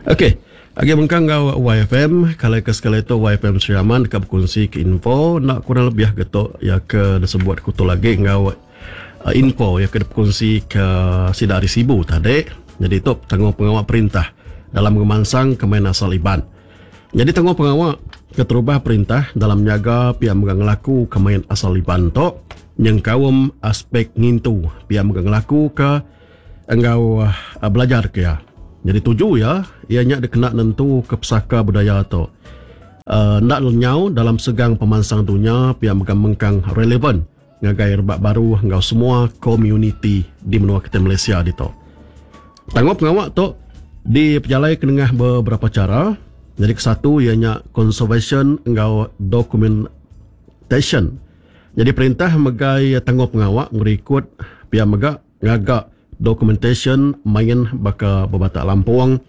Ok, agi mengkang enggau YFM, kala ke sekali tu YFM Sri Aman deka bekunsi ke info enda kurang lebih ke tu iya ke disebut ku tu lagi enggau info iya ke dipekunsi ke sida ari Sibu tadi. Nyadi tu tanggung pengawa perintah dalam ngemansang ke main asal Iban. Nyadi tanggung pengawa keterubah perintah dalam nyaga pia mega ngelaku ke main asal Iban tu nyengkaum aspek ngintu pia mega ngelaku ke enggau belajar ke iya. Nyadi tuju iya, iya nya dikena nentuka pesaka budaya tu enda lenyau dalam segang pemansang dunya pia mega mengkang relevan ngagai rebak baru enggau semua komuniti di menua kitai Malaysia ditu. Tanggung pengawa tu dipejalaika nengah beberapa chara. Nyadi kesatu iya nya conservation enggau documentation. Nyadi perintah megai tanggung pengawa ngerikut pia mega ngaga dokumentasyen main baka bebatak lampung.